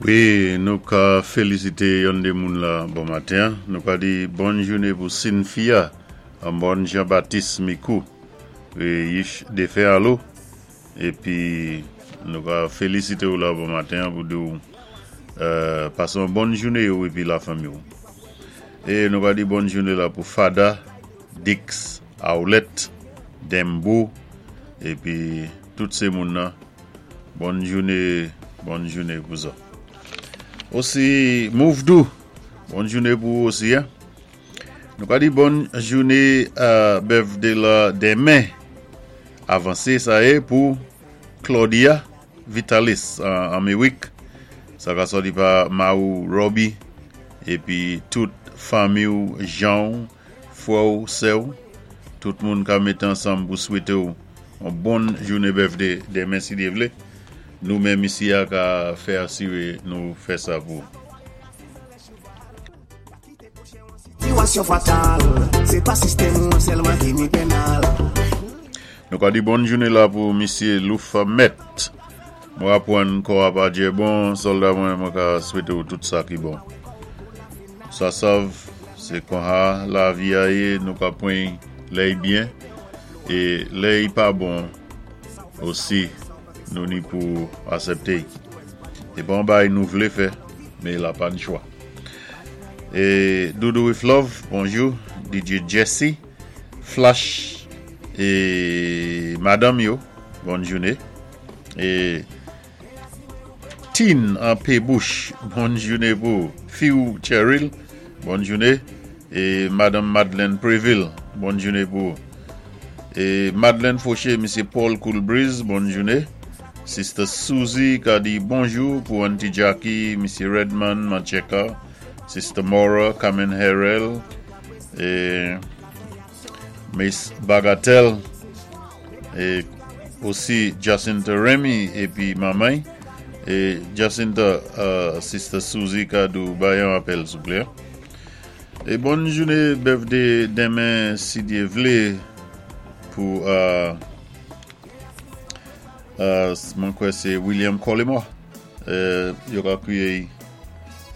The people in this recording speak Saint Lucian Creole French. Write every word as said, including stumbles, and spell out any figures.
Wi, nou ka félisité yon dé moun la bon maten. Nou ka di bòn jouné pou Cynthia, an bon Jean-Baptiste Mikou. Wi, yich défen alo. Épi nou ka félisité ou la bon maten pou di ou euh, pasé yon bòn jouné ou épi lafanmi ou. É nou ka di bòn jouné la pou Fada, Dix, Aoulette, Dembo, épi tout sé moun nan. Bòn jouné, bòn jouné pou sa. Osi Mouvdou, bòn jouné pou ou osi en. Nou ka di bòn jouné a birthday la denmen. Avansé sa yé pou Claudia Vitalis an Améwik. Sa ka sòti pa Maou Robbie épi tout fanmi ou Jean, frè ou, sè ou, tout moun ka mété ansanm pou swété ou yon bòn jouné birthday denmen si Dye vlé. Nou menm isi a ka fè asiré nou fè sa pou. Sitiyasyon fatal, sé pa sistèm ou sèlman ki ni penal. Nou ka di bòn jouné la pou Misyé Loufamet. Mwen apwann kò a pa djè bon, sòlda mwen mwen ka swété ou tout sa ki bon. Sa sav, sé konsa lavi a yé, nou ka pwan lè i byen, é lè i pa bon osi nou ni pou asèpté. É bon bay nou vlé fè, mé la pa ni chwa. É Doudou with Love, bonjou, D J Jesse, Flash é Madame yo, bòn jouné. É Tine an P. Bush, bòn jouné pou Fiou Cheryl, bòn jouné. É Madame Madeleine Préville, bòn jouné pou é Madeleine Fauché, Misyé Paul Coolbreeze, bòn jouné. Sister Suzy ka di bonjou pou Auntie Jackie, Misyé Redman, Mancheka, Sister Maura, Carmen Harrell, é Miss Bagatelle, é osi Jacinta Remy épi manman. É Jacinta, euh, Sister Suzy ka di ou bay yon apèl souplé. É bòn jouné birthday denmen si Dye vlé pou euh, euh, mwen kwè sé William Collymore. Euh, yo ka kwiyé